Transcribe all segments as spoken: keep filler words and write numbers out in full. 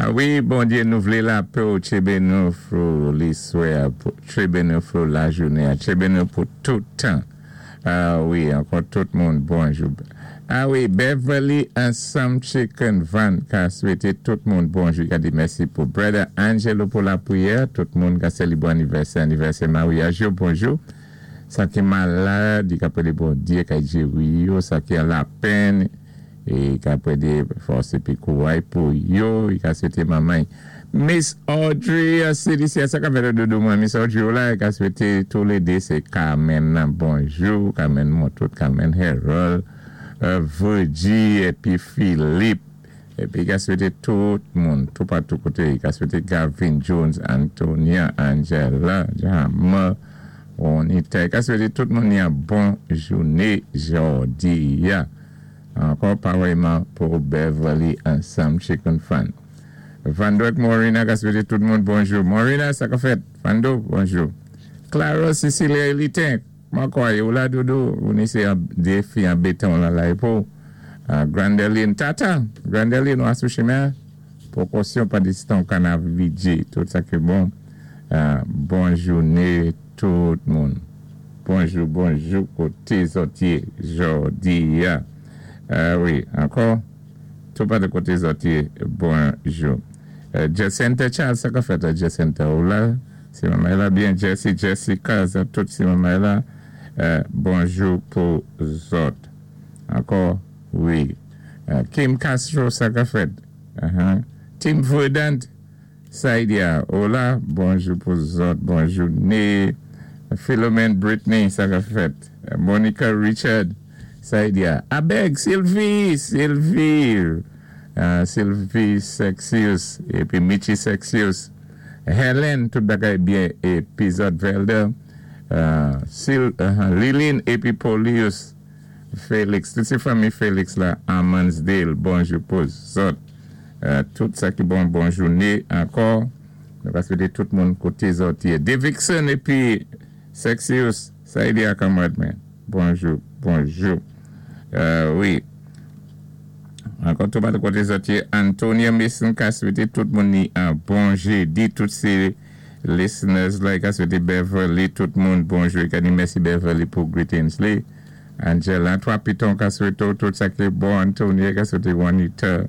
A wi, Bondyé, nou vlé lapè ou, tjébé nou fou liswè, tjébé nou fou lajounen, tjébé nou pou tout tan. A wi, ankò tout moun, bonjou. A wi, Beverly Ansam Chicken Van ka swété tout moun bonjou. Ka di mèsi pou Brother Angelo pou lapriyè. Tout moun ka sélébwé anivèsè, anivèsè maryaj yo, bonjou. Sa ki malad, i ka prédé Bondyé, ka géri yo, sa ki an lapenn, é ka prédé fòs épi kouray pou yo, i ka swété manman. Miss Audrey, C D C, sa ka fè doudou mwen, Miss Audrey ou la, ka swété tou lé dé, sé Carmen nan bonjou, Carmen Montout, Carmen Harold, euh, Virgie, épi Philippe, épi ka swété tout moun, tout patou koté, ka swété Gavin Jones, Antonia, Angela, Jama, Juanita, ka swété tout moun yon bon jouné jòdi a. Ankò parèyman pou Beverly Ansam Chicken Fan. Vando ak Morina ka swété tout moun bonjou. Morina, sa ka fèt? Vando, bonjou. Clara Cecilia Elitin, mwen kwè, ou la doudou, ou ni sé dé fi an béton la la pou. Uh, Grandeline Tata, Grandeline ou sou chimen, pwékosyon pa distan Kanavidji, tout sa ki bon. Uh, bon jouné tout moun. Bonjou, bonjou, koté zòt yé jòdi a. Uh, wi, ankò, tout pa de koté zòt yé, bonjou. Uh, Jacinta Charles, sa ka fèt a Jacinta ou la? Si manman la byen, Jesse, Jessica, sa tout si manman la, uh, bonjou pou zòt. Ankò, wi. Uh, Kim Castro, sa ka fèt. Uh -huh. Tim Verdant, Saidia, hola, bonjou pou zòt, bonjou né. Philomene Britney, sa ka fèt. Uh, Monica Richard, Saidia. Abeg, Sylvie, Sylvie, uh, Sylvie Sexius, épi Michi Sexius. Helen, tout bagay byen, épi zòt Velder. Uh, Sil, uh, Lilin, épi Polius, Félix, tout sé fanmi Félix la, Amansdale, bonjou pou zòt. Uh, tout sa ki bon, bon jouné ankò. Nou va swété tout moun koté zòt yé. Davidson épi Sexius, Saidia kanmarad mwen. Bonjou, bonjou. Uh, wi. Ankò tout pa koté zòt yé. Antonia Mason ka swété tout moun ni an bon jédi. Tout sé listeners la ka swété Beverly, tout moun bonjou. Ka di mèsi Beverly pou greetings li. Angela, Twa Piton ka swété tout sa ki bon. Antonia ka swété Juanita,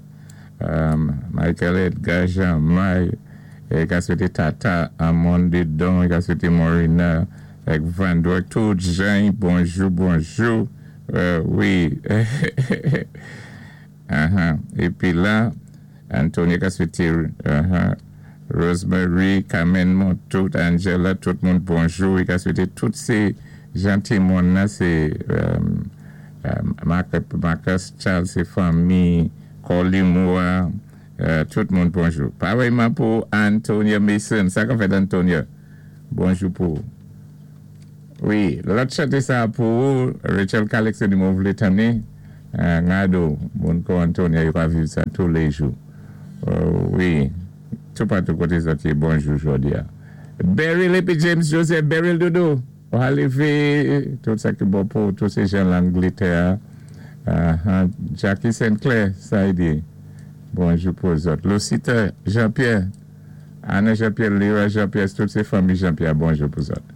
um, Michael Edgar, Jean-May, é ka swété Tata, Amonde Don, ka swété Morina, ak Vando, tout Jean, bonjou, bonjou. Euh, wi. uh-huh. Épi la, Antonia ka swété uh-huh. Rosemary, Carmen Montout, Angela, tout moun bonjou. I ka swété tout sé janti moun la, sé um, um, Marcus Charles, sé fanmi, Colly Moore, euh, tout moun bonjou. Parèyman pou Antonia Mason. Sa ka fèt Antonia? Bonjou pou. Wi, lòt chanté sa pou Rachel Calix di mwen vlé tanné. Euh, Ngado, moun kou Antonia, yo ka viv sa tou lé jou. Euh, wi, tout patou koté zòt yé, bonjou jòdi a. Beryl épi James Joseph, Beryl doudou, ou alivé, tout sa ki bon pou tout sé jan Langlétè. Uh, -huh. Jackie Sinclair, sa i di. Bonjou pou zòt. Lucita Jean-Pierre, Anna Jean-Pierre, Lira Jean-Pierre, tout sé fanmi Jean-Pierre, bonjou pou zòt.